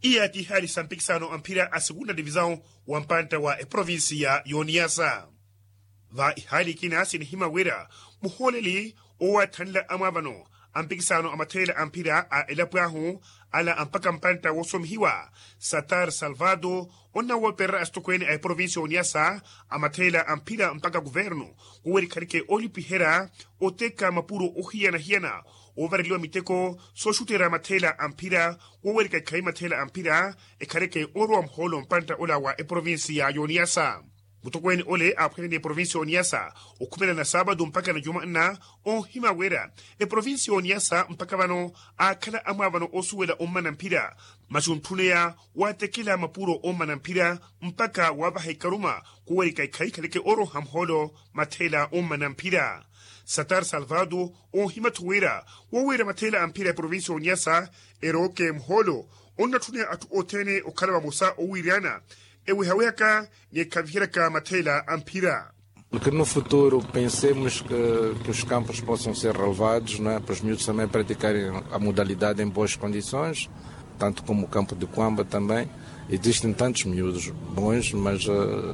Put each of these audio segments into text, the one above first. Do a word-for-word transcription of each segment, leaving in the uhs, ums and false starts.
Iya ti ihaali sa mpikisano a mphira a segunda divisaw wa mpantta wa eprovincia y'oniyasa. Va ihaali ikina sinihima wira muhooleli owaathanla amwaavano a mpikisano a matheela a mphira a elapo ahu, ala a mpakha mpantta woosomihiwa satar salvado, onnawopererya asitokweene a eprovincia y'oniyasa a matheela a mphira mpakha kuvernu, wowerikhaleke oolipiherya oteka mapuro ohiyana-hiyana, oovareliwa miteko sooxutera matheela a mphira, wowerika ikhayi matheela a mphira ekhaleke orowa muhoolo mpantta ola wa eprovincia y'oniyasa. Mutokweene ole aaphwene ni eprovincia y'oniyasa okhumela na saabatu mpakha na jumanna, oohima wira eprovincia y'oniyasa mpakha vano aakhala amwaavano oosuwela ommana mphira, masi ontthuneya waatekela mapuro ommana mphira mpakha waavaha ikaruma kuwerika ikhayi ikhaleke oroha muhoolo matheela ommana mphira. Satar salvado oohima-tho wira wowiira matheela a mphira eprovincia y'oniyasa erooke muhoolo onnatthuneya atthu othene okhala vamosa owiiryana ewihawihaka ni ekhaviheryaka matheela a mphira. Que no futuro pensemos que os campos possam ser relevados para os miúdos também praticarem a modalidade em boas condições, tanto como o campo de quamba também. Existem tantos miúdos bons, mas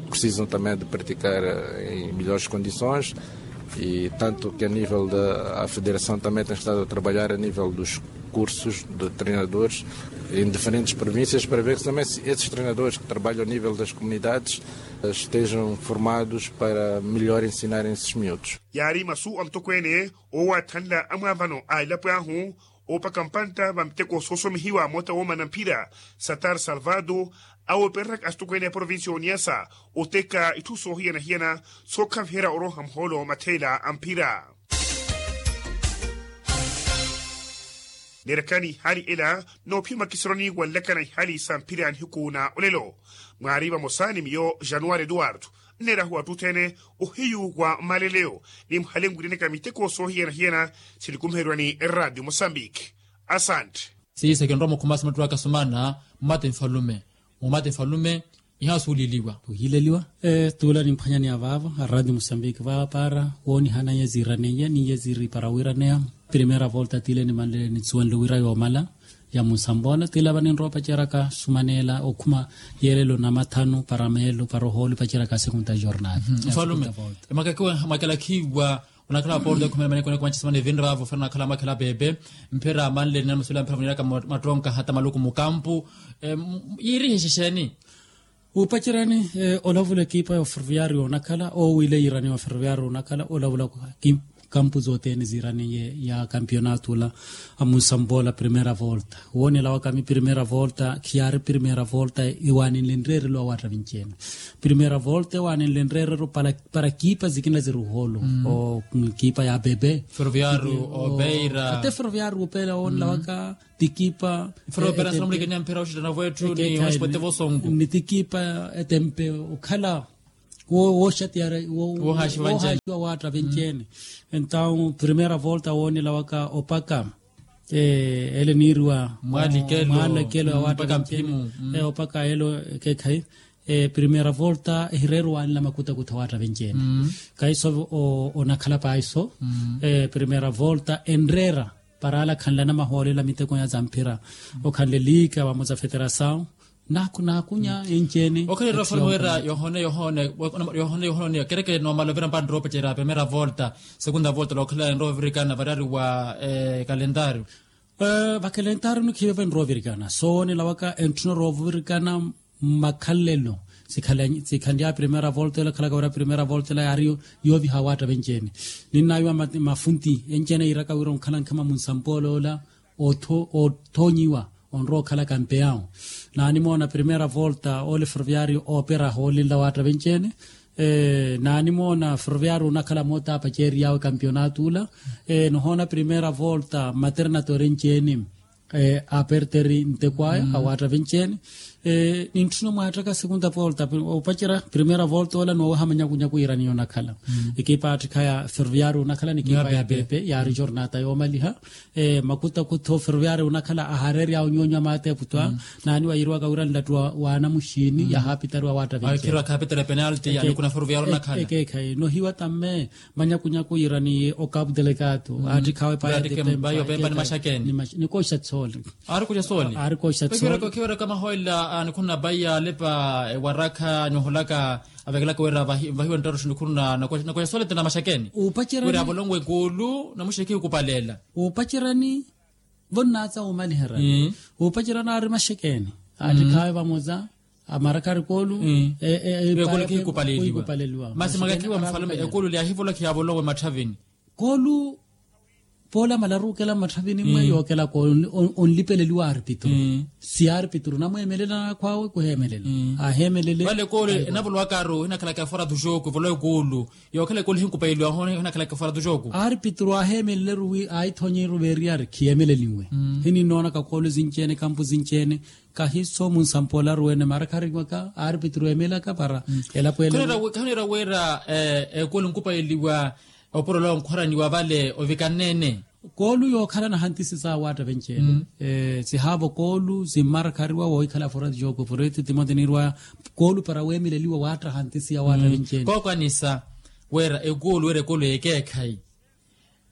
precisam também de praticar em melhores condições. E tanto que a nível da federação também tem estado a trabalhar a nível dos cursos de treinadores em diferentes províncias para ver também se esses treinadores que trabalham a nível das comunidades estejam formados para melhor ensinarem esses miúdos. Yaari masu a mutokweene oowaathanla amwaavano a elapo ahu oopaka mpantta va miteko soosomihiwa moota woomana mphira satar salvado, awoopereraka asitokweene a provincia y'oniyasa oteka itthu soohiyana-hiyana sookhaviherya oroha muhoolo matheela a mphira. Neerakani ihaali ela noophiyama kisironi wanlakana ihaali sa mphira nihiku na olelo. Mwaari vamosa ni miyo januwari eduwardo nneerahu atthu othene ohiyu wa mmaleleyo ni muhale nwirianaka miteko soohiyana-hiyana sinikumherwa ni eradio mosambiki. Asante. Siisa kinrowa mukhumasi mattu akasumana mmate nfalume. Mumate nfalume ihaasuuliliwa. Ohiileliwa. Tuula nimphwanyani avaavo aradio mosambiki vaapara woonihanaiye ziiraneiye niiye ziiripara wiiraneya. Primera volta tiile nimanlele nitsuwanle wira yoomala ya munsamboola tiila vaninrowa opaceraka sumaneela okhuma yeelelo namathanu para meelo para ohooli opaceraka a segunda jornada. Mfalume, emwakaki mwakelakhiwa onakhala waporta ekhumela maneko neko machisimana evinre vaavo fana nakhala mwakhela pepe. Mphira manlele namasula mphira muniraka matronka hata maluku mukampu. Yiirihe xexeni? Wupacerani olavula ekipa ya oferroviario onakhala owiile yiiraniwa oferroviario onakhala olavula kampu zothene ziiraniye ya kampionato ola. Amunsamboola primera volta woonela wakami primera volta khiyaari primera volta. Iwaninle nreerelo awaatta vinci-ene primera volta ewaninle nreerelo para kipa zikina ziri ohoolo. Kipa ya bebe ferroviario opeira ate ferroviario opeira woonela waka tikipa. Ferroviario anamulikenya mphira oxitana vwetthu ni oxipwete vosongo ni tikipa etempe okhala wooxatiyara woohaxiwa waatta venci-ene. Entaw primera volta woonela waka opaka ele niiriwa mwaalekelo ya waatta venci-ene. Opaka ele ekeekhayi primera volta ehireera owaanela makutakutha waatta venci-ene. Kahiso onakhala paahiso primera volta enreera para ala akhanlana mahoolela miteko ya zamphira okhanle liika vamosa feterasaw. Naaku naakunya enci-ene okhalira ofalme wira yohone yohone yohone yohone oniya kerekere noomala ovira mpantto oopecereya primera volta segunda volta lookhalira enrowa ovirikana variyari wa kalentario. Vakalentario nikhiive enrowa ovirikana soonela waka entthuna orowa ovirikana mmakhalelo sikhanly'aya primera volta ela ekhalaka wira primera volta ela yaari yooviha awaatta venci-ene. Ninnaawiwa mafunti enci-ene yiiraka wira onkhala nkhama munsampoola ola oothoonyiwa onrowa okhala kampeyawo. Naanimoona primera volta ole ferroviario oopera ahoolinla awaatta venci-ene. Naanimoona ferroviario onakhala moota aapaceeriy'awe kampeonato ola. Nohoona primera volta maternatory enci-ene aaperteri nteko aya awaatta venci-ene. Nintthuna omwaatthaka segunda volta, opacerya primera volta ola nooweha manyakunyaku yiiraniya onakhala. Ekipa atthikha ya ferroviario onakhala ni ekipa ya pepe yaari jornata yoomaliha. Makutakutho ferroviario onakhala ahareerya onyoonyo a maatepu twa. Naaniwa yiiriwaka wira nlattu wa anamuxiini yahaapitariwa waatta vinci. Ekeekhayi nohiwa tamme manyakunyaku yiiraniye o capu delegado aatthikhawe paya. Ni kooxa tsoole. Aari kooxa tsoole. Khiweraka mahoyela nikhuna paya alepa ewarakha nihulaka avekelaka wira vahiwe nttaruxu nikhuna. Nakoxa soolettena maxakeni wira avolonwe kuulu namuxekhi okupaleela. Uupacerani vonnaatsa womaliherani uupacerani aari maxekeni. Aattikhaawe vamoza amarakari koolu. Eekolo khikupaleliwa masi makakiwa mfalume ekulu lyahivola khiyavolowe matthavini. Koolu poola malaru okela mmatthavini mmwe yookela koolu onlipeleliwa arpitru. Si arpitru namweemelela nakhwaawe kuheemelela. Aheemelele vale koolu enavolowakaru hinakhalaka eforatu xooku evolowe koolu. Yookhela koolu hinkupayeliwa hoona hinakhalaka eforatu xooku. Arpitru aheemeleleru wi aithonyiru veeriyari khiyeemeleliwe. Hininnoonaka koolu sinci-ene kampu sinci-ene. Kahiso munsampolaru wene mara khariwaka arpitru emelaka para elapo ela. Khaniira wira ekulu nkupayeliwa opurolowa nkhwaraniwa vale ovikanneene. Koolu yookhala nahantisi saawatta venci-ene. Sihaavo koolu simmara khariwa woohikhala forati jooko forati timote niiriwa koolu para weemeleliwa waatta hantisi ya waatta venci-ene. Kookwanisa wira ekulu wira ekulu yekeekhayi.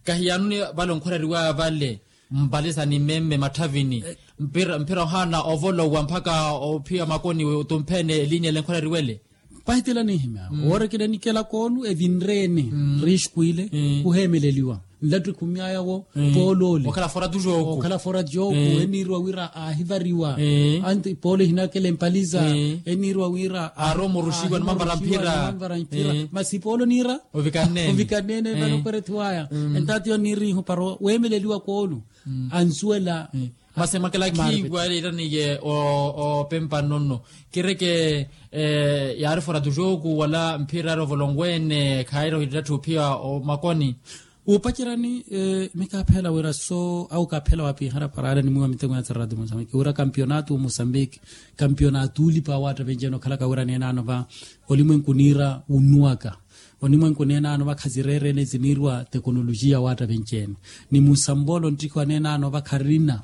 Kahiyaanuni vale onkhwareriwa vale mpalisa ni memme matthavini. Mphira ohaana ovolowa mpakha ophiya makoni otumpheene eliini ele nkwareriwele. Pahitela nihimya woore kinanikela koonu evinreene. Rixkwile kuheemeleliwa nlattu ekhumyaya wo. Poolo ole okhala foratu jooku eniiriwa wira aahivariwa. Anti poolo ehinakela empaliza eniiriwa wira aaromoruxiwa nimanvara mphira. Masi poolo niira ovikanneene vale okwerethiwaya. Entaati yo niirihu para weemeleliwa koolu ansuwela. Masi mwakelakhiwa leeraniye opempa nnono kireke yaari foratu jooku wala mphira yaari ovolonweene khaayira ohittetthe ophiya omakoni. Uupacerani mikaaphela wira so au kaaphela wapiihara para ale nimwiiwa miteko ya tsaratu musambiki wira kampionatu musambiki. Kampionatu ulipa waatta venci-ene okhalaka wira neenaano va olimwenku niira wunnuwaka. Onimwenku neenaano vakhazireerene ziniiriwa tekonolojiya waatta venci-ene ni musampolo nttikhiwa neenaano vakharina.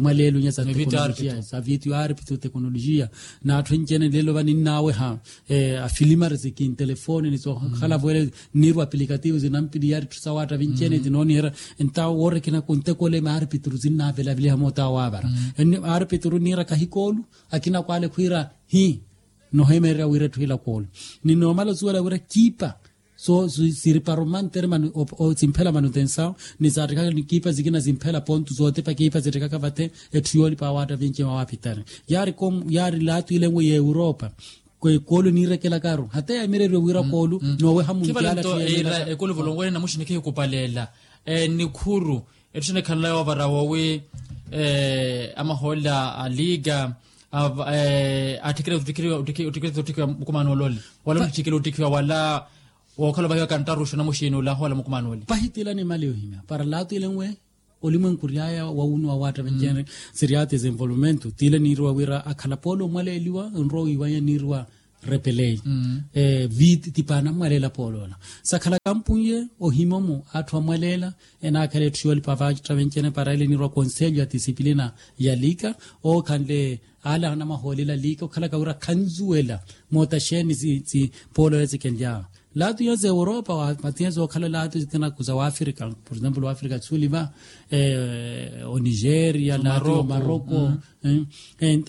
Mwaleelunya za tekonolojiya za vitu yaari pitu tekonolojiya. N'atthu enci-ene leelo vaninnaweha afilimari zikintelefoni ni zookhala voele nniiriwa apilikativu zinampiliyari tthu sa waatta venci-ene zinooniherya. Entawo woorekina kuntekole maari pituru zinnavelaveliha moota waavara. Maari pituru niira kahikoolu akina kwaale khwiira hi noheemererya wira etthu ila koolo. Ni noomala osuwela wira kiipa so siri para omantere manu simphela manutensawo ni saattikaka ni kiipa zikina zimphela pontu sootepa kiipa zittikaka vate. Etthu yoolipa awaatta vinci mawapitari yaari komu yaari laatu ile nwe ya europa. Koolu niirekelakaru hata yamireriwe wira koolu nooweha muntiala. Ekulu volonkwene namuxini khihikupaleela nikhuru. Etthu xinekhanla yoovara woowi amahoole a liika atthikile ottikhiwa mukumano ole wala ontthikhile ottikhiwa wala wookhala ovahiwa kanttaruxa namuxiini ole ahoola mukumano ole. Pahitila nimale yohimya para laatu ile nwe olimwenku oryaya wawunuwa waatta venci-ene. Sirya desenvolvimento tile niiriwa wira akhala poolo omwaleeliwa nrowa wiiwanya niiriwa repelei. Viti tipaana amwaleela pooloola sakhala kampunye ohimomu atthu amwaleela. Enaakhala etthu yoolipa vaatta venci-ene para ele niiriwa konselho ya disciplina ya liika ookhanle ale anamahoolela liika okhalaka wira khanzuwela moota xeeni pooloola zikenly'awe. Laatu iyo za europa matiya zookhala laatu zikina za waafrika por exemplo waafrika tsuliva onigeria laatu omaroko.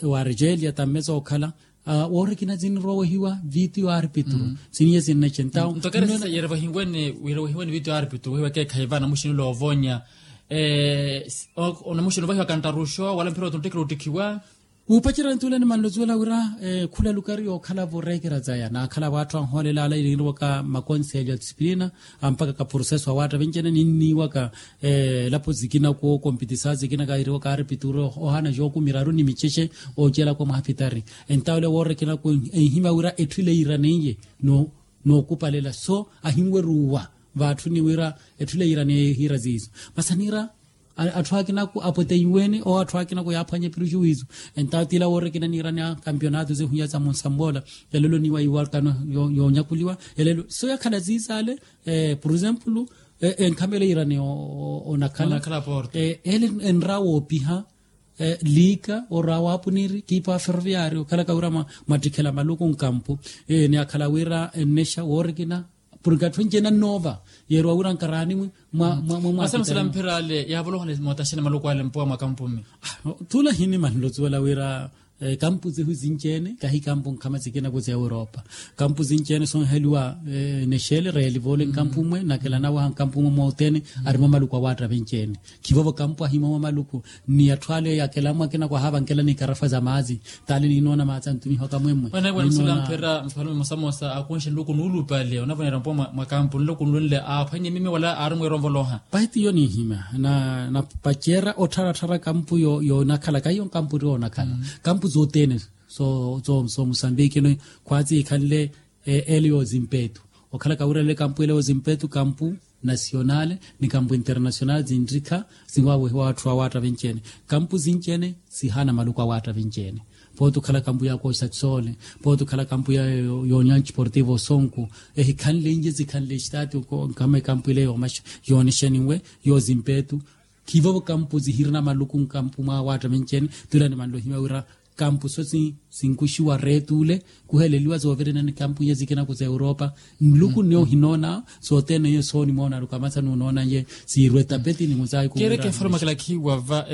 Waargelia tamme zookhala woorikina zinrowehiwa vitu yo arpitru. Siniye sinnexe entawo ntokera sisa yerevahiwene yerevahiwene vitu yo arpitru wehiwa ekeekhayi va namuxini ole oovonya. Namuxini ovahiwa kanttaruxo wala mphira otuntteke ottikhiwa. Wuupacerya ntuule ni manlozuwela wira khula lukari yookhala-vo reekera zaya naakhala-vo atthu anhoolelaala iniiriwaka makonselho ya disciplina ampakaka processo awaatta venci-ene ninniiwaka elapo zikina kookompitisa zikina kairiwaka arpituru ohaana jooku miraru ni micexe oocelaka omwaha pitari. Entawo ole woorekena ku enhimya wira etthu ile yiiraneiye nookupalela so ahinweruwa vaatthuni wira etthu ile yiiraneiye hiira ziizo. Masi aniira Atthu akinaku apweteiwene owo atthu akinaku yaaphwanya epiru juwizu. Entawo tila woorikina niirani a kampionato zehunya za munsampoola. Elelo niwa iwarkano yoonyakuliwa. Elelo so yakhala ziizaale. Por exemplo enkhamela iirani onakhala ele enra woopiha liika orwa waapuniri kiipa wa ferroviario okhalaka wira mwattikhela maluku nkampu. Ni akhala wira ennexa woorikina purke atthu enci-ene annoova yeeriwa wira nkaraani mwi mwa mwa mwa mwa. Asamusela mphira ale yaavoloha ni mootaxene maluku ale mpuwa mwa kampu mmi. Tuula hinimanle osuwela wira kampu sihu sinci-ene kahi kampu nkhama sikina ku sa europa. Kampu sinci-ene sonheliwa nexele reelivole nkampu mwe nakela nawaha nkampu mwe mwa othene. Arimo maluku awaatta vinci-ene khivovo kampu ahimo mwa maluku ni atthu ale yakela mwe akina kwahavankela ni ikarafa za maazi. Tale ninoona maazi antumihwaka mwemwe. Mphira mfalume mosamosa akunxe nluku nuulupale onavonera mpo mwa kampu nluku nlunle aaphwanye mimi wala aari mweeronvoloha. Pahi tiyo ninhimya na napacerya ottharattharaka mpu yoonakhala kaiyo nkampu tti oonakhala. Kampu zothene so so so musambiki no khwatsi ikhanle ele yoozimpetu okhala kawirelele kampu ele yoozimpetu kampu nasionale ni kampu internasionale zinrikha. Zinwawehiwa atthu awaatta vinci-ene kampu zinci-ene sihaana maluku awaatta vinci-ene. Pooti okhala kampu ya kosaksole pooti okhala kampu ya yonya nchiportivo osonku ehikhanle inje zikhanle estati nkama ekampu ile yoomaxa yoonexeniwe yoozimpetu. Khivovo kampu zihirina maluku nkampu mwawaatta vinci-ene. Tula nimanle ohimya wira kampu so sinkuxiwa reetu ule kuheleliwa zoovirina ni kampu iye zikina ku sa europa. Nluku nne ohinoona sothene iye soonimoona aluka amatha nuunoona iye siirwe tapeti ni muzaayi kuwira. Keereke eforomakela khiiwa va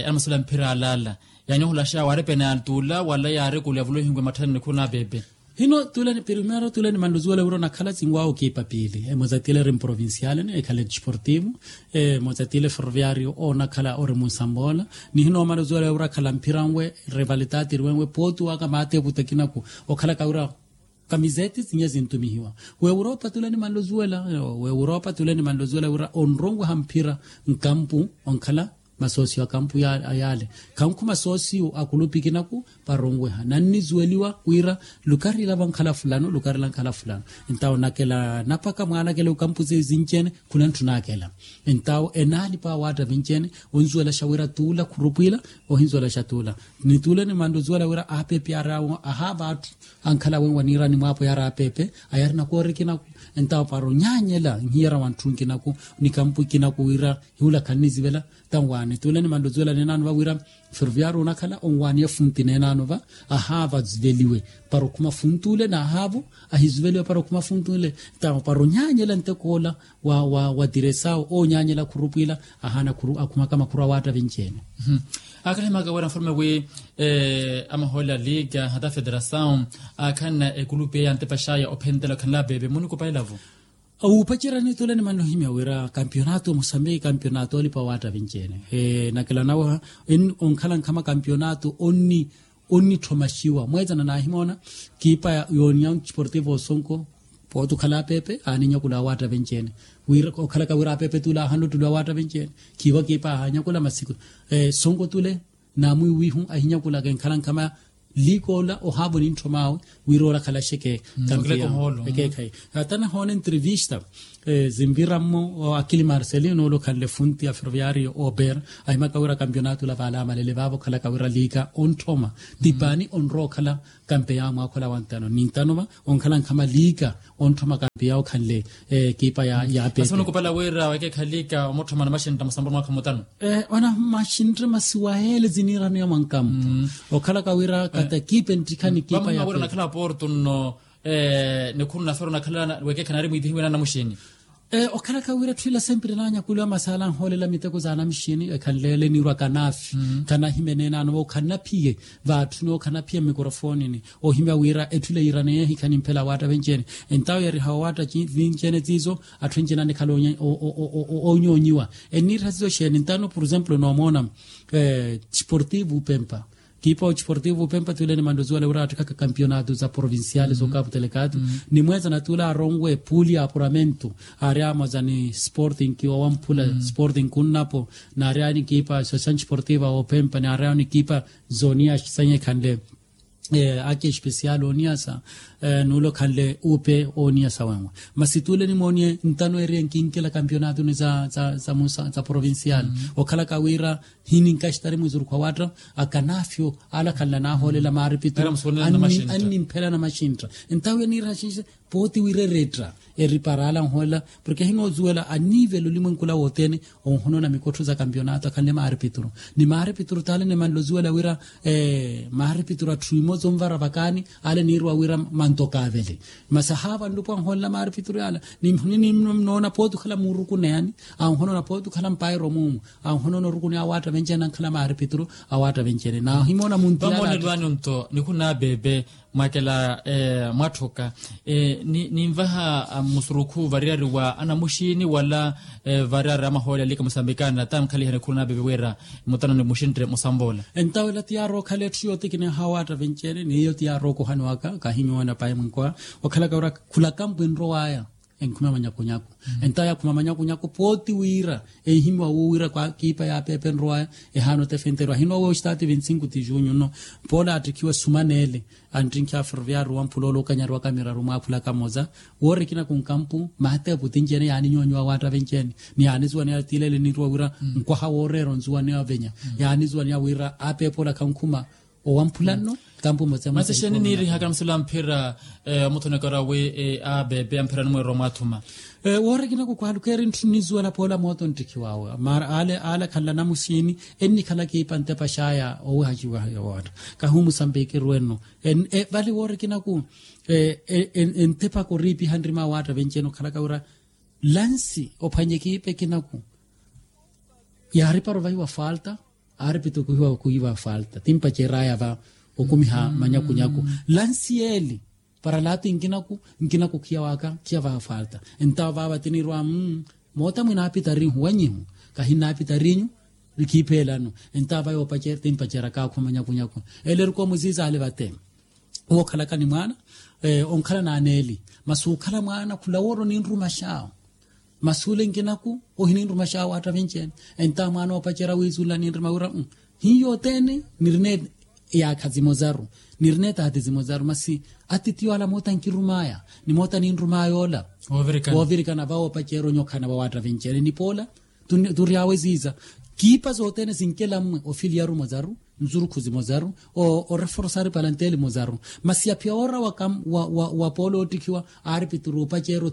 anamasula mphira alaala yaani ohulaxa yaari pene ya tuula wala yaari kuuli avula ohinkuwe matthani nikhuru na pepe. Hino tuula ni primero tuula ni manluzuwela wira onakhala sinwaawo kiipa piili emoza tiila eri mprovinciale ni ekhale disportivo. Emoza tiila eferroviario oonakhala ori munsampoola ni hino manluzuwela wira akhala mphira nwe rivalitaati eri wenwe pooti waka maateeputa kinaku okhalaka wira kamiseti sinya zintumihiwa. W'europa tule ni manlozuwela w'europa tule ni manlozuwela wira onronweha mphira nkampu onkhala masoosiyo a kampu yaale. Khankhu masoosiyo a kulupi kinaku varonweha nannizuweliwa wira lukarila vankhala fulano lukarila nkhala fulano. Entawo nakela napaka mwaanakela ekampu zinci-ene khuna ntthunakela. Entawo enaalipa awaatta vinci-ene onzuwelaxa wira tuula khurupwila ohinzuwelaxa tuula. Ni tuula ni manluzuwela wira aapepe yaari awo ahaava atthu ankhala wenwa niirani mwaapo yaari apepe ayarina koorikinaku. Entawo para onyaanyela nhiyara wa ntthu nkinaku ni kampu ikinaku wira hiula khannizivela. Tanwaani tuula ni manluzuwela neenaano va wira ferroviario onakhala onwaani efunti neenaano va ahaava aziveliwe para okhuma funti ule n'ahaavo ahiziveliwe para okhuma funti ule. Tanwa para onyaanyela nteko ola wa wa wa tiresawo oonyaanyela khurupwila ahaana akhumaka makhuru awaatta vinci-ene. Aakhalahimaka wira nfalume wi amahoole a liga hata federasaw aakhanna ekulupi eya antepaxaya ophentela okhanla pepe munikupa elavu. Wuupacerya nitule ni mannohimya wira kampionato musambiki kampionato olipa waatta vinci-ene. Nakela naweha onkhala nkhama kampionato onni onnitthoma xiwa mweetsana naahimoona kiipa yooniya nchiportivo osonko. Pooti okhala apepe aaninyakula awaatta venci-ene wira okhalaka wira apepe tuula aahanle ottuli awaatta venci-ene. Khiiwa kiipa aahanyakula masi sonko tule naamwiiwihu ahinyakulaka enkhala nkhama liikoola ohaavo nintthomaawe wira oolakhalaxeke. Kampiya ekeekhayi hata nahoona entrevista zinvira mmo akili marcelino ole okhanle funti a ferroviario ober ahimaka wira kampionato ola vaale amalele vaavo okhalaka wira liika ontthoma ti paani onrowa okhala. Kampeya mwaakhula wa ntano ni ntano va onkhala nkhama liika ontthoma kampeya okhanle ekipa ya ya pepe. Asa onukupala wira wekeekha liika omutthoma na maxintta musamburu mwaakha mutano. Ona maxintta masiwa ele ziniiraniwa mwa nkampu okhalaka wira kata ekipa enttikha ni ekipa ya pepe. Vamwira onakhala porto nno nikhuru na fero onakhala wekeekha naari mwiitihiwe na namuxini. Okhalaka wira etthu ila sempre naanyakuliwa masaala anhoolela miteko za anamixini ekhanleele niirwa kanaafi kanahimene enaano va okhanaphiye vaatthuni okhanaphiye mmikrofonini ohimya wira etthu ila yiiraneya ehikha nimphela awaatta venci-ene. Entawo yariha owaatta vinci-ene tiizo atthu enci-ene anikhala onyoonyiwa enniiriha tiizo xeeni ntano por exemplo noomoona chiportivo upempa kiipa ochiportivo upempa tule ni mandozi wale wira attikhaka kampionato za provinciale zookapu telekato ni mweeza na tule aronwe puli ya apuramento aari amoza ni sporting kiwa wamphula sporting kunnapo naari awo ni kiipa association chiportiva opempa naari awo ni kiipa zoniya sanyekhanle ake especial oniyasa Nuule okhanle uupe ooniya sawenwe. Masi tuule nimooniye ntano eriye nkinkela kampionatoni za provincial, okhalaka wira hininkaxitari mwizuruku wa watta. Akanafyo ala khanla nahoolela maaripituru annimphela namaxintta. Entawo yaniiraha xinxe pooti wira eretta eripara ala anhoolela porke hinoozuwela anivela olimwenku ola wothene. Onhonoona mikottho za kampionato akhanle maaripituru ni maaripituru t'ale nimanle ozuwela wira maaripituru atthu emoza onvara vakaani. Ale niirwa wira manto kaavele masi ahaava nlupo anhoolela maaripituru yaala. Nimnoona pooti okhala muurukuneyani anhonoona pooti okhala mpairo muumu anhonoona orukuneya awaatta venci-ene ankhala maaripituru awaatta venci-ene naahimoona munti yaala. Vamoonelwani onto nikhuna beebe mwakela mwatthuka ninvaha musurukhu variyari wa anamuxiini wala variyari amahoole alika musambikana ta mukhalihani khuna beebe wira mutano ni muxintte musampoola. Entawo ela ti yaarookhala etthu yootikineha awaatta venci-ene n'iyo ti yaarookohani waka kahinyoona payi mwinkowa okhalaka wira khulakampu enrowaya enkhume manyakunyaku. Entawo yaakhuma manyakunyaku pooti wira enhimiwa wuwira kwa kiipa yaapeepa enrowaya ehaana otefenterwa ahinowa wooxitaati vinti-sinku ti junyu nno. Poola attikhiwa sumaneele anttrinkiha ferroviario wa mphula ole okanyariwaka miraru mwaaphulaka moza woori ekinaku nkampu maatepu tinci-ene yaaninyonyiwa awaatta venci-ene ni yaanizuwaneya tiilele niirwa wira nkwaha wooreera onzuwaneya ovenya yaanizuwaneya wira apeepa ole akhankhuma owamphula nno. Kampu mmosa masi exeeni niirihaka msula mphira omuthonekera wi abeebe amphirani mweerwa mwaathuma. Woori ekinaku kwaalukeeri ntthu nnizuwela poola mooto nttikhiwaawe mara ale ale akhanla namuxiini ennikhala kiipa ntepa xaaya owihaxiwa yoowatta kahi omusambiki erwe nno. Vale woori ekinaku entepaka oriipiha nrima awaatta venci-ene okhalaka wira lansi ophwanye kiipa ekinaku yaaripara ovahiwa falta. Aaripituru khuhiwa khuhiwa falta ti mpacer'aya va okumiha manyakunyaku lansi yeeli para laati nkinaku nkinaku khiya waka khiya vaha falta. Entawo vaava tiniirwa moota mwinaapitari nhuwanyihu kahinnaapitarinyu. Khiipheelano entawo va yoopacerya ti mpacerya kaakhuma manyakunyaku ele erikwa omuziiza ale vate. Wookhalaka ni mwaana onkhala n'aneeli masi okhala mwaana khula woori oninrumaxawo. Masi ole nkinaku ohininrumaxawo waatta vinci-ene. Entawo mwaana oopacerya wiizunla ninrima wira hiyo othene nirina eyaakha zimozaru nirina etaati zimozaru masi atitiyo ala moota nkirum'aya ni moota ninrum'aya ola. Woovirikana va woopacerya onyokhana va waatta vinci-ene ni poola tury'awe ziiza kiipa zothene sinkela mmwe ofiliyaru mozaru nzurukhu zimozaru oreforsari palanteli mozaru. Masi yaphiya oora wa poola oottikhiwa aaripituru opacerya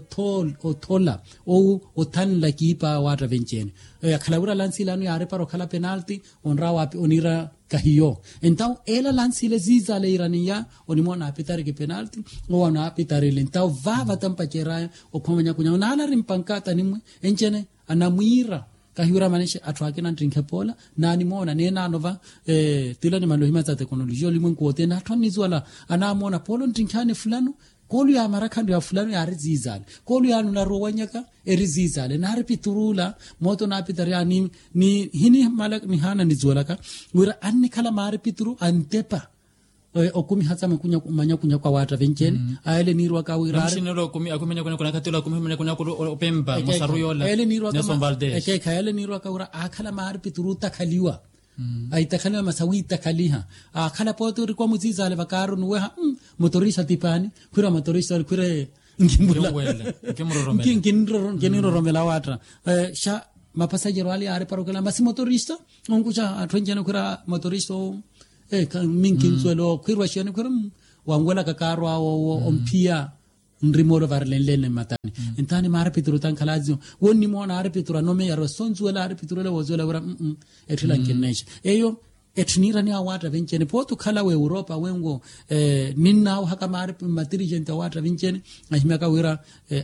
othola owu othanla kiipa waatta venci-ene. Yakhala wira lansi ilano yaaripara okhala penalti onrawa oniira kahiyo. Entawo ela lansi ile ziiza ale yiiraniya onimoona aapitari ki penalti owo anaapitari ile entawo vaava tampacer'aya okhuma manyakunyaku naala ari mpankata ni mmwe enci-ene anamwiira. Kahiwira manexi atthu akina nttinkhe poola naanimoona neenaano va tila nimanle ohimya sa tekonolojiya olimwenku wothene atthu annizuwala anaamoona poola onttinkhaani fulano koolu yaamarakhanru ya fulano yaari ziizale koolu yaani onaruwa owanyaka eri ziizale naari piturula. Moota onaapitari yaani ni hinimala nihaana nizuwalaka wira annikhala maari pituru antepa okumiha sa manyakunyaku awaatta venci-ene. Ayele niirwaka wira ari namuxinelo akumi manyakunyaku nakhatelo akumi manyakunyaku opempa musaru yoola. Nelson valdez ekeekha yele niirwaka wira aakhala maari pituru otakhaliwa aitakhaliwa masi awiitakhaliha. Aakhala pooti orikwa muziizaale vakaaru nuweha motorista tipaani khwira motorista khwira nkimbula nkiniroromela awaatta. Xa mapasajero ale yaari parokela masi motorista onkuxa atthu enci-ene khwira motorista owo minkinsuwela okhwirwa xiyani khwira wanwelaka kaaru awo owo omphiya nrimoolo varilenlene mmatani. Entaani maaripituru tankhalaaziyo wonnimoona aaripituru anomeyarwa sonzuwela aaripituru ele woozuwela wira etthila nkinnexa eyo. Etthu niiraniya awaatta vinci-ene pooti okhala w'europa wenwo ninnaawahaka maari mmatirigenti awaatta vinci-ene ahimyaka wira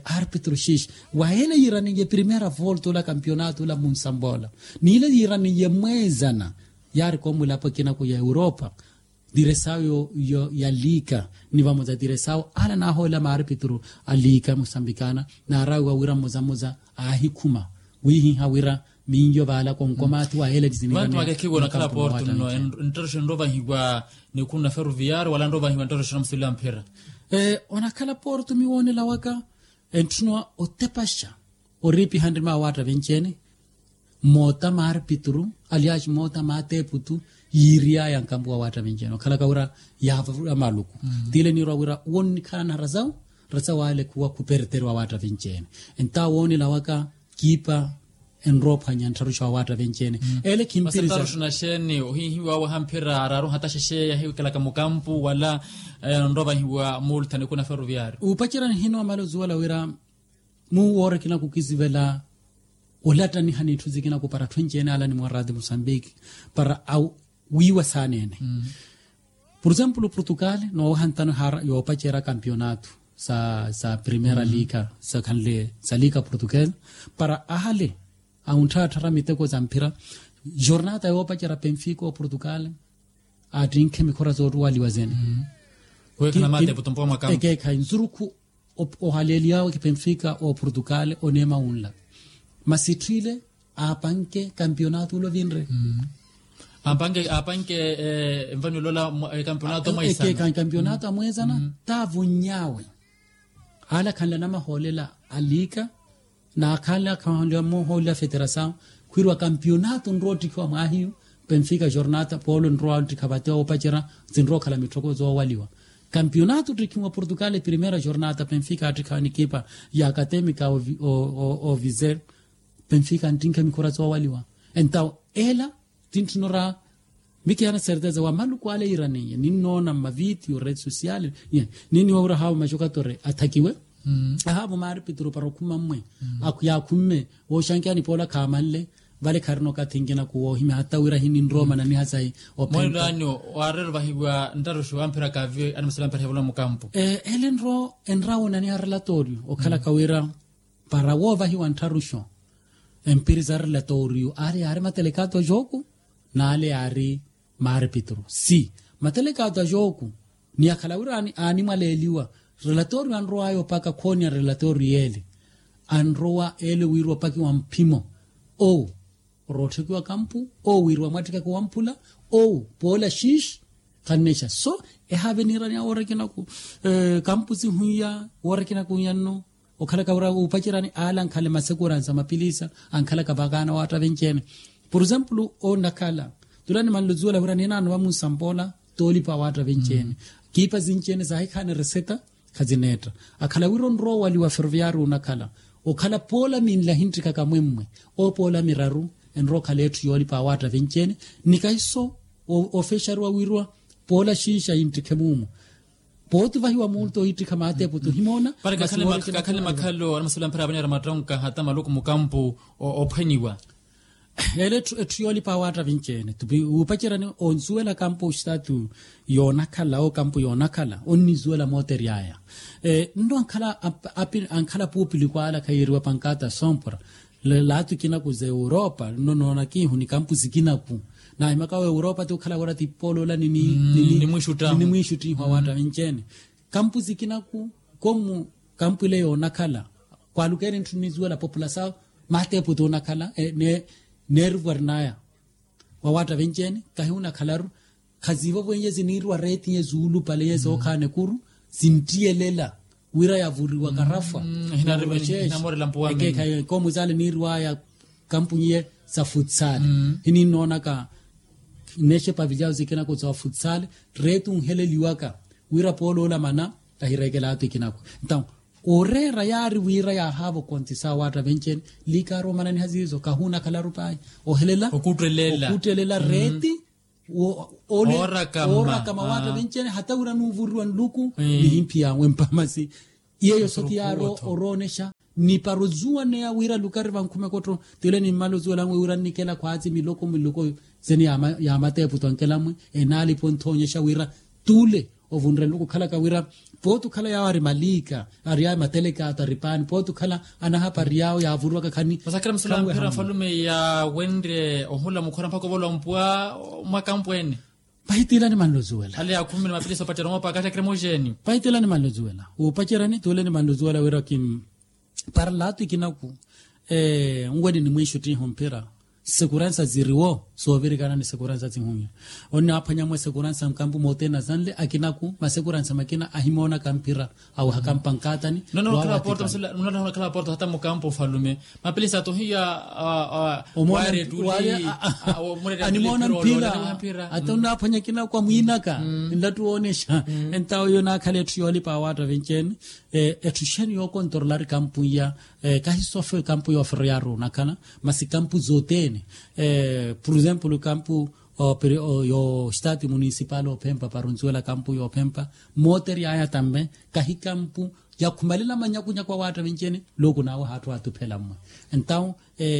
aaripituru xiixi wayele yiiraniye primera volta ola kampionato ola munsambola niile yiiraniye mweezana yaari koomulapo ekinaku ya europa. Diresawo ya liika ni vamoza diresawo ala naahoolela maaripituru a liika musambikana naarawiwa wira mmoza mmoza aahikhuma wiihiha wira miiyo vaala konkomaathi wa eleti zinivantu makekhiwa onakhala porto nno enttotoxo enrovahiwa nikhuna ferroviario wala nrovahiwa enttotoxo namusila mphira. Onakhala porto miwoonela waka entthuna otepaxa oriipiha nrima awaatta vinci-ene. moota maarpituru, aliaxi moota maateeputu, yiiriyaya nkampu wa waattavinci ene okhalaka wira yaavavula maluku. Tiile niirwa wira wonnikhala na rasawu rasawu ale khuwa khuperteriwa waattavinci ene. Entawo woonela waka kiipa enrowa ophwanya nttharuxa wa waattavinci ene. Ele khimpiriza. Nttharuxa naxeeni ohihiwa wahamphira araru hataxexeya yahiwikelaka mukampu wala enrowa vahiwa muulthani kuna ferroviario. Upacerani hino amala ozuwela wira muwoorekina khukisivela olattaniha n'itthu sikina khupara atthu enci ene ala nimwarati musambiki para awiiwa saana ene. Pur exemplo portugal noowaha ntano ehara yoopacerya kampionato sa primera liga sa khanle sa liga portugal para ahale awuntthaatthara miteko sa mphira. Jornata yoopacerya penfica oportugal aattinkhe mikhora soottuwaliwa sene. Ekeekhayi nsurukhu ohaleeliyawe kipenfika oportugal oneema wunla masi etthu ile aapanke kampionato ula ovinre. Aapanke aapanke envani olola kampionato amweesana. Kampionato amweesana taavunny'awe ale akhanla namahoolela a liga n'akhanle akhanle amoohoolele a federasawu khwiiriwa kampionato nrowa ottikhiwa mwaahiyu. Penfika jornata poolo nrowa ottikha vate oopacerya sinrowa okhala mitthoko soowaliwa. Kampionato ottikhiwa portugal primera jornata penfika attikhawa nikipa ya akatemika oviser. Penfika anttinkha mikhora soowaliwa entawo ela tintthino ra mikiyana serteza wa maluku ale yiiraniye ninnoona mmavitiyo rede social. Ninniwa wira haawo macokato ri athakiwe. Ahaawo maari pituru para okhuma mmwe yaakhumme wooxankeya nipoola khaamanle. Vale kharina okathi nkinaku woohimya hata wira hininrowa omananiha sahi. Ophenta mweelo anyu waareera ovahiwa nttaruxu amphira kaaviwe animasala amphira hivula mukampu. Ele nrowa enrawa onaniha relatorio okhalaka wira para woovahiwa nttharuxo empiri sa relatorio ale yaari matelekato a joku n'ale yaari maari pituru si matelekato a joku. Ni akhala wira aanimwaleeliwa relatorio anrow'aya opaka khooniya relatorio ele anrowa ele wiiriwa opakiwa mphimo owu orootthikiwa kampu owu wiiriwa mwattikaka wamphula owu poola xiixi. Khannexa so ehaave niiraniya woorekinaku kampu sihuiya woorekinaku nyanno. Okhalaka wira wuupacerani ale ankhale masekurani sa mapilisa ankhalaka vakaana waatta venci-ene. Pur exemplo onakhala tula nimanle ozuwela wira ninaano vamunsampoola toolipa waatta venci-ene. Kiipa sinci-ene saahikhaani reseta khazineetta akhala wira onrowa owaliwa ferroviario onakhala okhala poola minlahi nttikhaka mwemmwe owo poola miraru enrowa okhala etthu yoolipa waatta venci-ene. Ni kahiso ofexariwa wiiriwa poola xiixa yinttikhe muumu. Pooti vahiwa muulto ohiittikha maateeputu ohimoona. Para kakhale makhalo anamasivela mphira avanera mattonka hata maluku mukampu ophwaniwa. Ele etthu yoolipa waatta vinci-ene wuupacerani onsuwela kampu oxitaatu yoonakhala okampu yoonakhala onnizuwela mootery'aya. Nno ankhala api ankhala puupiliku ala khayiiriwa pankata sompora. Laatu ikinaku za europa nno noona kiihu ni kampu sikinaku. Naahimaka wa europa ti okhala wira ti pooloola ninimwiixuttihu awaatta vinci-ene. Kampu sikinaku komu kampu ile yoonakhala kwaalukeeni ntthu nnizuwela populasawu maateepu ti onakhala neerivarnaya. Wawaatta venci-ene kahi onakhalaru khaziivovo iye siniiriwa reeti iye suulupale iye sookhaana ekuru sinttiyelela wira yavuriwa karafwa. Ekeekhayi koomu saale niiriwaya kampu iye sa futsale hininnoonaka nnexe pavilyawu sikinaku sa futsale reeti onheleliwaka wira pooloola mana tahireekela ata ikinaku. Ntawo oreera yaari wira yaahaava okontisa awaatta venci-ene liikaaru omananiha siiso kahuunakhalaru pahi ohelela okuuttelela reeti oorakama waatta venci-ene hata wira nuuvuriwa nluku nihimphi yaawe mpamasi. Iyeyo soti yaari oroonexa ni para ozuwaneya wira lukari vankhume kotto. Tile nimmala ozuwela nwe wira nnikela khwaatsi miloko miloko sene yaamateepu twankelamwe enaalipa onthoonyexa wira tule ovunre nluku okhalaka wira pooti okhala yaawo ari maliika ari aya matelekaato ari paani pooti okhala anahapari yaawo yaavuriwaka khani. Masakira musula mphira nfalume yaawenrye ohula mukhora mpakha ovola ompuwa mwaka mpweene. Pahitila nimanle ozuwela ale yaakhumini mapilisa opacerya moopa akathi akira emoxeeni. Pahitila nimanle ozuwela wuupaceryani tule nimanle ozuwela wira kim para laatu ikinaku nweni nimwiixuttihu mphira sikuransa siriwo. Soovirikana ni sekuransa sihunya. Onnaaphwanya mwa sekuransa nkampu mootena sanle akinaku masekuransa makina ahimoonaka mphira awehaka mpankatani. Nonakhala aporta aporta hata mukampu ofalume mapilisa tohiya. Omoona wari ettuli. Animoona mphira. Ata onnaaphwanya akinaku amwiinaka nlattu woonesha. Entawo iyo naakhala etthu yoolipa awaatta venci-ene. Etthu xeeni yookontorolari kampu iya? Kahi sofwe kampu yooferoyaru onakhala masi kampu zothene. Pur exemplo kampu yo stati municipal ophempa para onsuwela kampu yoophempa. Mooteryaya tambe kahi kampu yakhumelela manyakunyaku awaatta venci-ene. Looku naawe haatthu atuphela mmwe. Entawo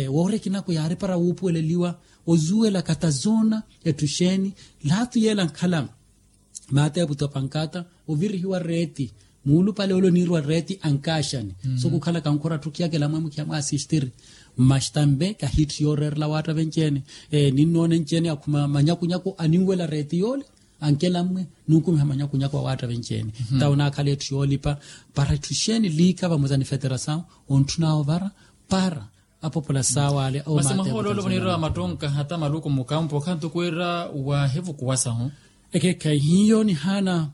woori ekinaku yaari para wuupuweleliwa ozuwela katazoona etthu xeeni. Laatu yeela nkhala maateeputi opankata ovirihiwa reeti muulupale ole oniiriwa reeti ankaaxani. So kukhalaka nkhura tthukiyakela mwe mukhiya mwaasistiri. Masi tambe kahitthu yooreerela awaatta venci-ene. Ninnoona enci-ene akhuma manyakunyaku aninwela reeti yoole ankela mmwe. Nunkumiha manyakunyaku awaatta venci-ene. Tawo naakhala etthu yoolipa para etthu xeeni liika vamosa ni feterasawu ontthunaawo vara para apopola saawale. Masi mwahoolo ole voniiriwa mattonka hata maluku mukampu okhantuku wira waahivukuwasahu. Ekekhayi hiyo nihaana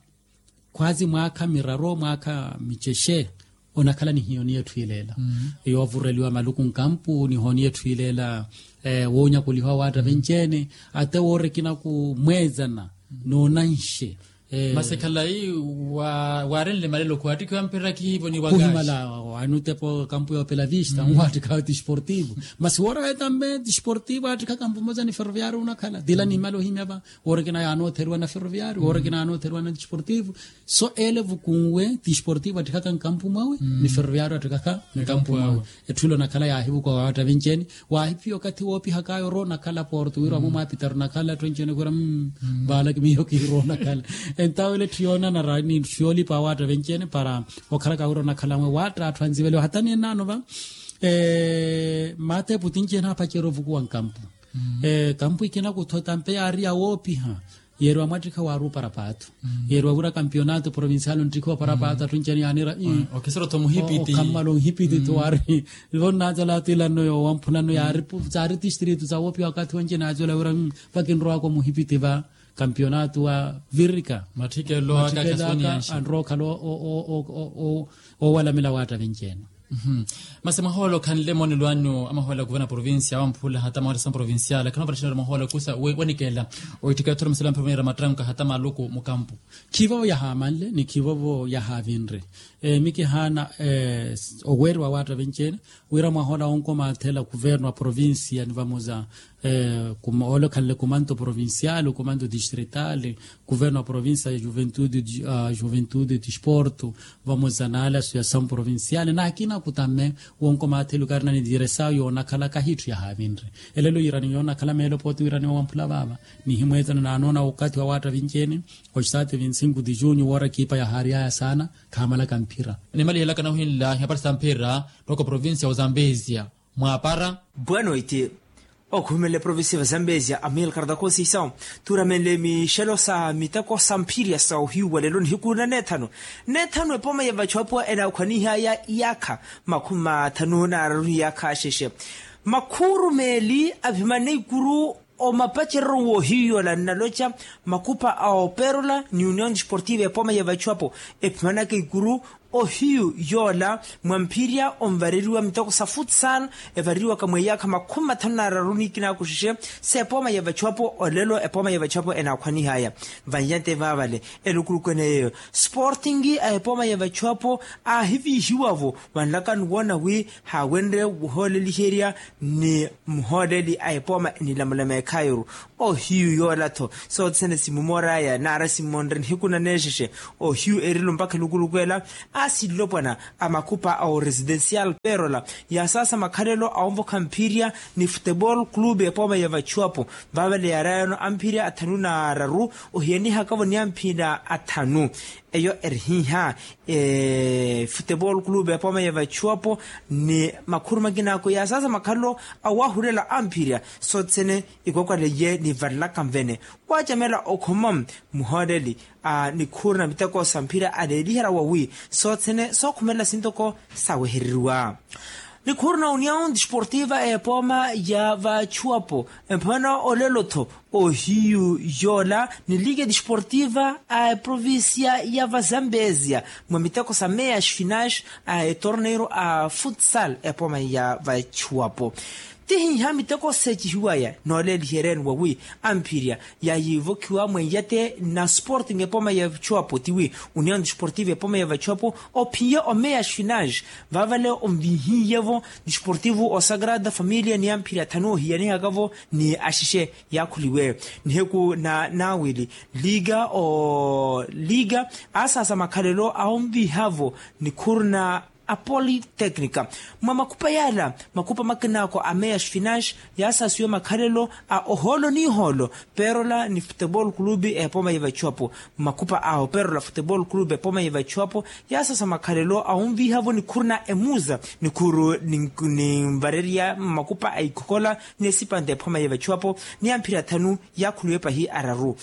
khwaazi mwaakha miraru mwaakha micexe onakhala ni hiyo ni etthu ileela. Yoovureliwa maluku nkampu ni hooni etthu ileela woonyakuliha awaatta venci-ene. Ate woori ekinaku mweezana noonanxe. Masi khalayi waarenle malelo khuwattikhiwa mphira khihivo ni wakaxi. Kuhimala waanutepo kampu yoopela vista nwattikhawe tisportivo. Masi woora wetambe tisportivo aattikha kampu mosa ni ferroviario onakhala tila nimala ohimya va. Woora ekina yaanootheriwa na ferroviario woora ekina yaanootheriwa na tisportivo. So ele vukunwe tisportivo attikaka nkampu mwawe ni ferroviario attikaka nkampu mwawe. Etthu ile onakhala yaahivukuwa waatta venci-ene. Waahiphiya okathi woopihakaya orowa onakhala porto wira wamwe mwaapitari onakhala atthu enci-ene khwira. Vaalaki miyo kihirowa onakhala. Entawo ile etthu yoonanara ni etthu yoolipa awaatta venci-ene para okhalaka wira onakhala mwe waatta atthu anziveliwa hata ni enaano va. Maateeputi enci-ene aapacerya ovukuwa nkampu. Kampu ikina kutho tampe yaari yawoopiha. Yeeriwa mwattikha waaruupara paathu. Yeeriwa wira kampionato provincial onttikhiwa para paathu atthu enci-ene yaaniira. Okhammala onhipiti tho waari vonnaacela atilanno yoowamphulano yaari saari tistritu sawoopiha wakathi wenci naacela wira vakinrowaka omuhipiti va kampionato wa virika. Matthikelo aka anrowa okhala oowalamela waatta venci-ene. Masi mwahoolo khanle moonelo anyu amahoola kuverna provincia awamphula hata mawatta sa provincial khanoopattixa mwahoolo kusa wenikeela. Oitthika yothora muselo amphira oniira mattanka hata maluku mukampu. Khivovo yahaamanle ni khivovo yahaavinre. Mikihaana oweeriwa waatta venci-ene wira mwahola wonkomaathela kuverno wa provincia ni vamosa ole okhanle kumanto provincial kumanto distrital kuverno wa provincia ya juventude disporto vamosa na ala associasaw provincial na akina kutame. Wonkomaathela okaari nanidiresaw yoonakhala kahitthu yahaavinre. Elelo yiirani yoonakhala meelo pooti wiirani wowamphula vaava nihimweezana naanoona okathi wa waatta vinci-ene. Oxitaati vinti sinku ti junyu woora ekipa yahaariyaya saana. Khaamalaka mphira. Nimalihelaka nahuhinla ihapari sa mphira. Tooko provincia ya ozambesia mwaapara. Bwanoiti okhuhumela eprovincia ya ozambesia amilcar da conceição tuuramenle mixelo sa miteko sa mphirya sa ohiyu wa lelo nihiku na neethanu. Neethanu epooma ya vachuapuwa enaakhwanihaya iyaakha makhumi mathanu na araru iyaakha axexe. Makhuuru meeli aphimane ikuru omapacereryo woohiyu yoola nnaloca makupa a operola ni union desportiva epooma ya vachuapo ephimanaka ikuru ohiyu yoola mwa mphirya onvareriwa miteko sa futsal evareriwaka mwa iyaakha makhumi mathanu na araru ni ikinaku xexe s'epooma ya vachuapo olelo epooma ya vachuapo enaakhwanihaya. Vanjante vaavale elukuluku ene yeeyo sporting a epooma ya vachuapo aahiviihiwa-vo vanlaka nuwoona wi haawenrye wuhooleliherya ni muhooleli a epooma enilamulama ekhaayoru. Ohiyu yoola-tho sothene simumoraya naara simmonre nihiku naneexexe ohiyu erilo mpakha elukuluku ela. Aasi nlopwana a makupa a oresidencial perola yaasaasa makhalelo a onvokha mphirya ni futebol clube epooma ya vachuapo vaavale yaarayano amphirya athanu na araru ohiyanihaka-vo ni amphirya athanu. Eyo erihiiha futebol clube epooma ya vachuapo ni makhuru makinaku yaasaasa makhalelo awahulela amphirya sothene ikwakwaleye nivalelaka nvene waacamela okhoma muhooleli a nikhuuru na miteko sa mphira aleeliherya wawi sothene sookhumelela sintoko sawehereriwa. Nikhuru na união desportiva a epooma ya vachuwapo, emphana olelo-tho ohiyu yoola ni liga desportiva a eprovincia ya vazambezia mwa miteko sa meias finais a etorneiro a futsal epooma ya vachuwapo. Tihiha miteko seecihiwaya nooleeliheryani wawi amphirya yaayivokhiwa mweiyate na sporting epooma ya vachuwapo tiwi união desportiva epooma ya vachuwapo ophiye omeias finais. Vaavale onvihiye-vo desportivo o sagrada familia ni amphirya thanu ohiyanihaka-vo ni axixe yaakhuliwe nihiku na naawili liga o liga aasasa makhalelo a onviha-vo nikhuru na a politecnica. Mwa makhupa yaala makhupa makinaako a meias finais yaasaasiwa makhalelo a ohoolo n'ihoolo perola ni futebol clube epooma ya vachuwapo. Makhupa a operola futebol clube epooma ya vachuwapo yaasasa makhalelo a onviha-vo nikhuru na emuza nikhuru ni nvarerya makhupa a ikhokhola ni esipanta epooma ya vachuwapo ni amphirya thanu yaakhuliwe pahi araru.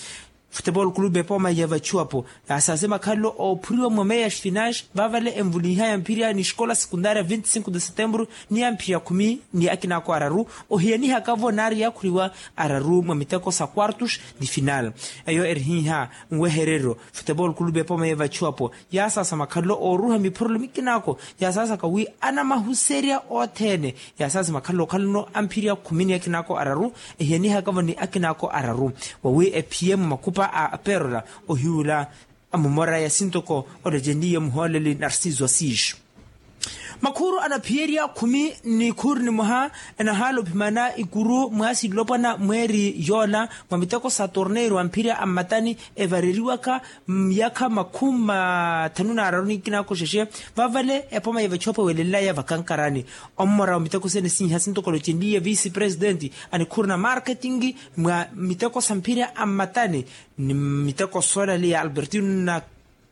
Futebol clube epooma ya vachuwapo yaasaase makhalelo oophuriwa mwa meias finais vaavale envulinha yamphirya ni escola secundaria vinte cinco de setembro ni amphirya khumi ni akinaako araru ohiyanihaka-vo naari yaakhuliwa araru mwa miteko sa quartos de final. Eyo erihiha nwehereryo futebol clube epooma ya vachuwapo yaasaasa makhalelo ooruha miphurelo mikinaako yaasaasaka wi anamahuserya othene. Yaasaasi makhalelo okhalano amphirya khumi ni akinaako araru ehiyanihaka-vo ni akinaako araru wawi ephiye mwa makhupa a aperola ohiwula amumora ya sintoko olecenliye muhooleli narciso assis. Makhuru anaphiyerya khumi ni khuri ni mwaha enahaala ophimana ikuru mwaasi nlopwana mweeri yoola mwa miteko sa torneiro amphirya ammatani evareriwaka myakha makhumi mathanu n'araru ni kinaako xexe. Vaavale epooma ya vachuwapo ewelenlaya vakankarani ommora wa miteko sene siiha sintokolo cenliye vice presidenti anikhuru na marketing mwa miteko sa mphirya ammatani ni miteko soolaliya albertino na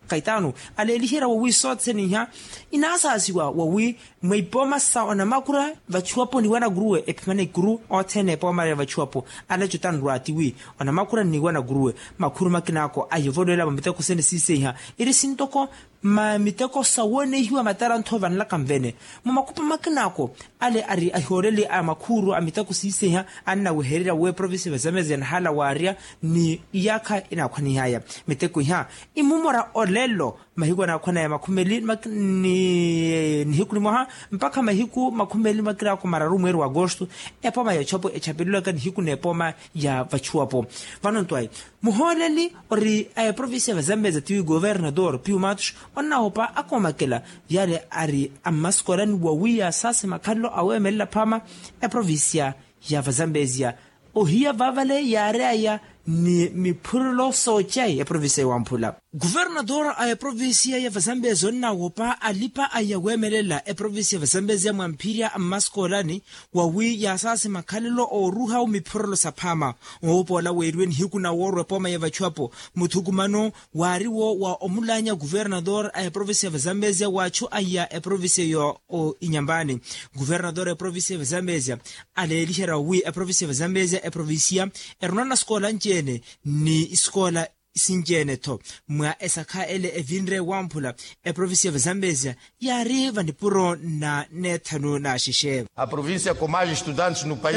kaitano aleeliherya wawi sothene iha inaasaasiwa wawi mwa ipooma sa onamakura vachuwapo ni wanakuruwe ephimana ikuru othene epooma ya vachuwapo aleco tanrwa tiwi onamakura ni wanakuruwe makhuru makinaako ayovolowela mwa miteko sene siiseiha iri sintoko mma miteko sa woonehiwa matarantho vanlaka nvene mwa makhupa makinaako ale ari ahihooleli a makhuuru a miteko siiseha annawehererya wi eprovinsi ya vazamezi yanahala waarya ni iyaakha inaakhwanihaya miteko iha imumora olelo mahiku anaakhwanaya makhumeli ni nihiku ni mwaha mpakha mahiku makhumeli makinaako mararu mweeri wa agosto. Epooma ya ochapo echapelelwaka nihiku n'epooma ya vachuwapo vano ntwayi muhooleli ori a eprovinsi ya vazambeza tiwi governador piu matos onnawopa akoomakela yale ari ammasikoolani wawi yaasaase makhalelo aweemelela phaama eprovinsiya ya vazambezia ohiya vaavale yaaryaya ni miphurelo soocayi eprovinsiya ya wamphula. Governador a eprovinsiya ya vazambezia onnawopa alipa aya weemelela eprovinsiya ya vazambezia mwamphirya ammasikoolani wawi yaasaase makhalelo ooruha omiphurelo saphaama oopoola weeriwe nihiku na woorwa epooma ya vachuwapo muthukumano waariwo wa omulaanya kuvernador a eprovinsiya ya vazambezia waachu aya eprovinsiya yo inyambani kuvernador a eprovinsiya ya vazambezia aleeliherya wi eprovinsiya ya vazambezia eprovinsiya eruna na sikoola nci-ene ni isikoola sinci-ene-tho mwa esakha ele evinre wamphula eprovinsiya ya vazambezia yaari vanipuro na neethanu na axexe. A provincia com mais estudantes no país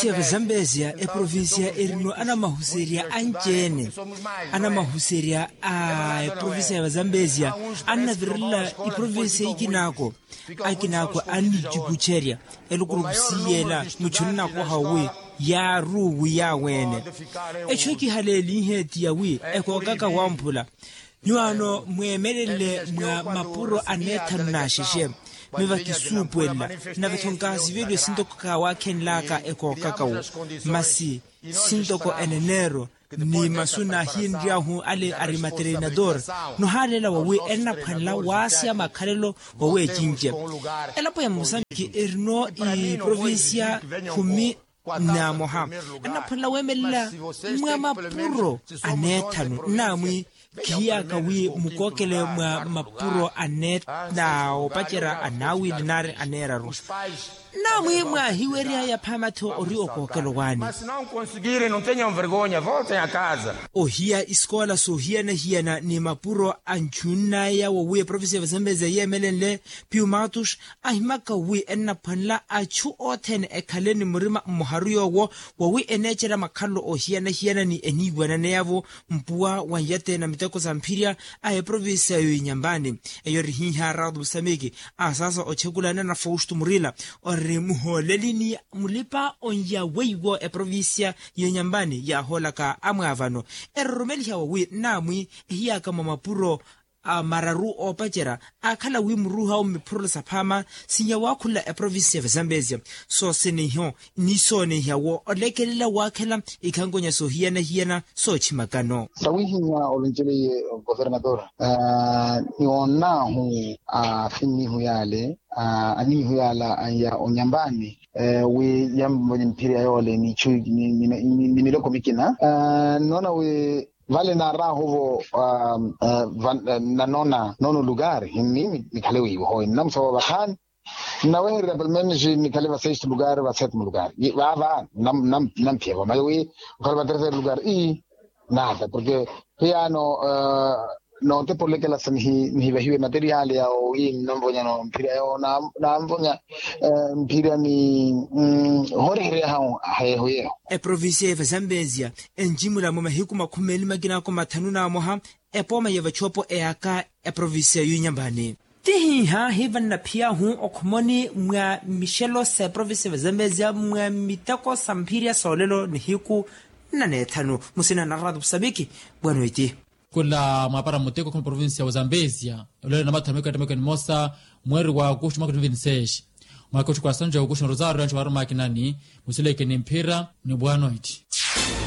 é a zambezia. Eprovinsiya ya vazambezia erino anamahuserya anci-ene anamahuserya a eprovinsiya ya vazambezia annavirela iprovinsiya ikinaako akinaako annicukucerya elukuluku siiyela muchuni nakoha wi yaaru wi yaaweene echu ekihaleelihe ti yawi ekookaka wamphula nyuwaano mweemelele mwa mapuro aneethanu n'axexe miva kisuupuwelela nave-tho nkaasiveliwe sintoko kaawakhenlaka ekookaka wo masi sintoko eneneero ni masu naahiyenry'ahu ale ari materinador nohaaleela wawi ennaphwanela waasya makhalelo waweecince elapo ya mosambiki erino iprovinsiya khumi na moha ennaphwanela weemelela mwa mapuro aneethanu nnaamwi khiyaka wi mukookele mwa mapuro aneethanu na opacerya anaawili nari aneeraru Naamwi mwaahiwery'aya phaama-tho ori okookelo waani. Masi noo nkonsigiri nontenye onvergonya volta ya kaza. Ohiya isikoola soohiyana-hiyana ni mapuro a nchunn'aya wowi eprovincia ya vazambezi yeemelenle piumatus, ahimaka wi ennaphwanela achu othene ekhale ni murima mmoharu yoowo wowi eneecerya makhalelo oohiyana-hiyana ni eniiwananeyavo mpuwa wa nyate na miteko sa mphirya a eprovincia ya inyampani. Eyo eri hiiha rado musamiki a saasa ochekulana na fausto murila ori muhooleli ni mulipa onya weiwo eprovincia ya inyampani yaahoolaka amwaavano eroromeliha wowi nnaamwi ehiyaka mwa mapuro a mararu oopacerya aakhala wi muruuhawo mmiphurula saphaama sinya waakhula eprovincia ya vazambezia. Sooseniho ni soonihiya wo olekelela waakhela ikhankonya soohiyana-hiyana soochimakano. Sawihinya olonceleye governador ni wonnaahu a finnihu yale a annihu yala anya onyambani wi yamvonye mphiri ya yoole ni miloko mikina. Nnoona wi vale naaraahuvo nanoona nono lugari mimi nikhale wiivo hoyi nnamusavo vakhani nnawehererya pelo menos nikhale va sexto lugari va setimo lugari vaava. Nnamphiyavo mayo wi okhale va terceiro lugari ii nada porke hiyaano nootepolekela sa nihivahiwe materiali yawo wi nnamvonyano mphira yawo naamvonya mphira ni horehereya hawo hayeho yeho. Eprovincia ya vazambezia enjimula mwa mahiku makhumi meeli makina ako mathanu na amoha epooma ya vachopo eyaka eprovincia ya inyambani. Tihiiha hiivanna phiyahu okhomoni mwa mixelo sa eprovincia ya vazambezia mwa miteko sa mphirya soolelo nihiku nna neethanu musina na rado musambiki. Bwanoiti. Khula mwaapara muteko khuma provincia wa zambezia olelo na mathameko ya thameko nimosa mweeri wa agosto mwaka wa twenty twenty-six mwaka otthuku wa sanju ya agosto na rosario yanchu waarumakinani musileke ni mphira ni bwanoiti.